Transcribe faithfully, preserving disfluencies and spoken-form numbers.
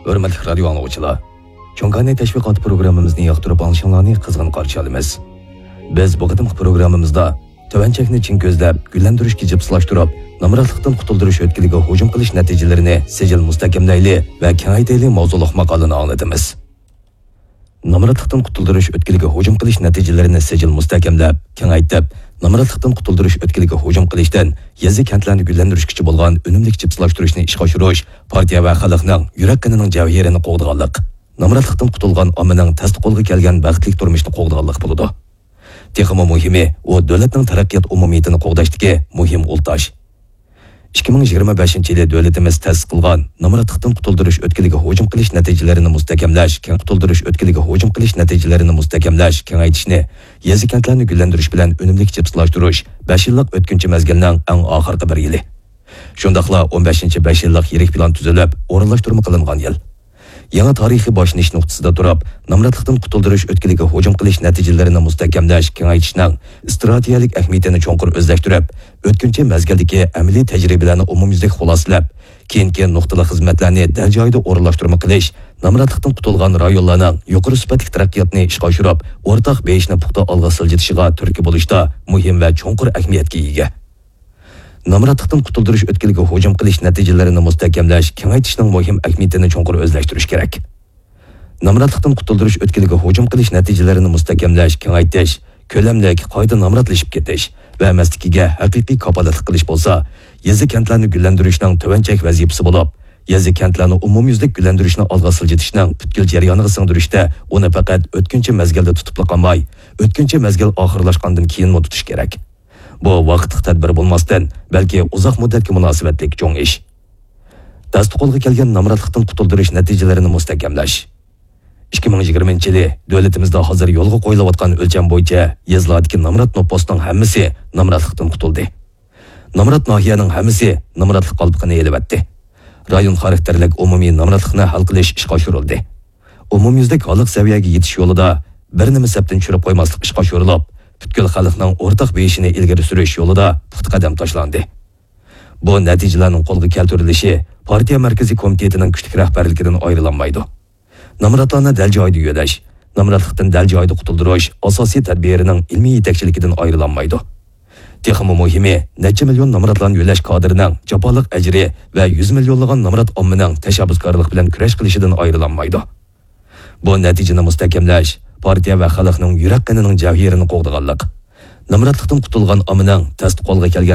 ھۆرمەتلىك رادىيو ئاڭلىغۇچىلار، چوڭكانى تەشۋىقات پروگراممىمىزنى ياقتۇرۇپ ئاڭلىشىڭلارنى قىزغىن قارشى ئالىمىز. بىز بۇ قېتىمقى پروگراممىمىزدا تۆۋەن چەكنى چىڭ كۆزلەپ، گۈللەندۈرۈشكە جىپسىلاشتۇرۇپ، نامراتلىقتىن قۇتۇلدۇرۇش ئۆتكىلىگە ھۇجۇم قىلىش نەتىجىلىرىنى سىجىل مۇستەھكەملەيلى ۋە كېڭەيتەيلى ماۋزۇلۇق ماقالىنى ئاڭلىتىمىز. نامراتلىقتىن قۇتۇلدۇرۇش ئۆتكىلىگە ھۇجۇم قىلىش نەتىجىلىرىنى سىجىل مۇستەھكەملەپ، كېڭەيتىپ، نامراتلىقتىن قۇتۇلدۇرۇش ئۆتكىلىگە ھۇجۇم قىلىشتىن يېزا-كەنتلەرنى گۈللەندۈرۈشكىچە بولغان ئۈنۈملۈك جىپسىلاشتۇرۇشنى ئىشقا ئاشۇرۇش پارتىيە ۋە خەلقنىڭ يۈرەك قېنىنىڭ جەۋھىرىنى قوغدىغانلىق، نامراتلىقتىن قۇتۇلغان ئاممىنىڭ تەستە قولغا كەلگەن بەختلىك تۇرمۇشنى قوغدىغانلىق بولىدۇ. تېخىمۇ مۇھىمى، ئۇ دۆلەتنىڭ تەرەققىيات ئومۇمىيىتىنى قوغداشتىكى مۇھىم ئۇل تاش. ئىككى مىڭ يىگىرمە بەشىنچى يىلى دۆلىتىمىز تەسىس قىلغان نامراتلىقتىن قۇتۇلدۇرۇش ئۆتكىلىگە ھۇجۇم قىلىش نەتىجىلىرىنى مۇستەھكەملەش، كەڭ قۇتۇلدۇرۇش ئۆتكىلىگە ھۇجۇم قىلىش نەتىجىلىرىنى مۇستەھكەملەش، كېڭەيتىشنى، يېزا-كەنتلەرنى گۈللەندۈرۈش بىلەن ئۈنۈملۈك جىپسىلاشتۇرۇش بەش يىللىق ئۆتكۈنچى مەزگىلنىڭ ئەڭ ئاخىرقى بىر يىلى. شۇنداقلا ئون بەشىنچى بەش يىللىق يىرىك پىلان تۈزۈلۈپ، ئورۇنلاشتۇرما قىلىنغان يىل. يېڭى تارىخىي باشلىنىش نۇقتىسىدا تۇرۇپ، نامراتلىقتىن قۇتۇلدۇرۇش ئۆتكىلىگە ھۇجۇم قىلىش نەتىجىلىرىنى مۇستەھكەملەش، كېڭەيتىشنىڭ ئىستراتېگىيەلىك ئەھمىيىتىنى چوڭقۇر ئۆزلەشتۈرۈپ، ئۆتكۈنچى مەزگىلدىكى ئەمەلىي تەجرىبىلەرنى ئومۇميۈزلۈك خۇلاسىلەپ، كېيىنكى نۇقتىلىق خىزمەتلەرنى دەل جايىدا ئورۇنلاشتۇرما قىلىش، نامراتلىقتىن قۇتۇلغان رايونلارنىڭ يۇقىرى سۈپەتلىك تەرەققىياتىنى ئىشقا ئاشۇرۇپ، ئورتاق بېيىشنى پۇختا ئالغا سىلجىتىشىغا تۈرتكە بولۇشتا مۇھىم ۋە چوڭقۇر ئەھمىيەتكە ئىگە. نامراتلىقتىن قۇتۇلدۇرۇش ئۆتكىلىگە ھۇجۇم قىلىش نەتىجىلىرىنى مۇستەھكەملەش، كېڭەيتىشنىڭ مۇھىم ئەھمىيىتىنى چوڭقۇر ئۆزلەشتۈرۈش كېرەك. نامراتلىقتىن قۇتۇلدۇرۇش ئۆتكىلىگە ھۇجۇم قىلىش نەتىجىلىرىنى مۇستەھكەملەش، كېڭەيتىش، كۆلەملىك، قايتا نامراتلىشىپ كېتىش ۋە ئەمەسلىكىگە ھەقىقىي كاپالەتلىك قىلىش بولسا، يېزا-كەنتلەرنى گۈللەندۈرۈشنىڭ تۆۋەن چەك ۋەزىپىسى بولۇپ، يېزا-كەنتلەرنى ئومۇميۈزلۈك گۈللەندۈرۈشنى ئالغا سىلجىتىشنىڭ پۈتكۈل جەريانىغا سىڭدۈرۈشتە ئۇنى پەقەت ئۆتكۈنچى مەزگىلدە تۇتۇپلا قالماي، ئۆتكۈنچى مەزگىل ئاخىرلاشقاندىن كېيىنمۇ تۇتۇش كېرەك. بۇ ۋاقىتلىق تەدبىر بولماستىن، بەلكى ئۇزاق مۇددەتكە مۇناسىۋەتلىك چوڭ ئىش. تەستە قولغا كەلگەن نامراتلىقتىن قۇتۇلدۇرۇش نەتىجىلىرىنى مۇستەھكەملەش. ئىككى مىڭ يىگىرمىنچى يىلى دۆلىتىمىزدە ھازىر يولغا قويۇلۇۋاتقان ئۆلچەم بويىچە يېزىلاردىكى نامرات نوپۇسنىڭ ھەممىسى نامراتلىقتىن قۇتۇلدى. نامرات ناھىيەنىڭ ھەممىسى نامراتلىق قالپىقىنى ئېلىۋەتتى. رايون خاراكتېرلىك ئومۇمىي نامراتلىقنى ھەل قىلىش ئىشقا ئاشۇرۇلدى. ئومۇميۈزلۈك ھاللىق سەۋىيەگە يېتىش يولىدا بىر نېمە سەپتىن چۈشۈرۈپ قويماسلىق ئىشقا ئاشۇرۇلۇپ، پۈتكۈل خەلقنىڭ ئورتاق بېيىشىنى ئىلگىرى سۈرۈش يولىدا پۇختا قەدەم تاشلاندى. بۇ نەتىجىلەرنىڭ قولغا كەلتۈرۈلۈشى پارتىيە مەركىزىي كومىتېتىنىڭ كۈچلۈك رەھبەرلىكىدىن ئايرىلالمايدۇ. نامراتلارنى دەل جايىدا يۆلەش، نامراتلىقتىن دەل جايىدا قۇتۇلدۇرۇش ئاساسىي تەدبىرىنىڭ ئىلمىي يېتەكچىلىكىدىن ئايرىلالمايدۇ. تېخىمۇ مۇھىمى، نەچچە مىليون نامراتلارنى يۆلەش كادىرىنىڭ جاپالىق ئەجرى ۋە يۈز مىليونلىغان نامرات ئاممىنىڭ تەشەببۇسكارلىق بىلەن كۈرەش قىلىشىدىن ئايرىلالمايدۇ. بۇ نەتىجىنى مۇستەھكەملەش پارتىيە ۋە خەلقنىڭ يۈرەك قېنىنىڭ جەۋھىرىنى قوغدىغانلىق، نامراتلىقتىن قۇتۇلغان ئاممىنىڭ تەستە قولغا كەلگەن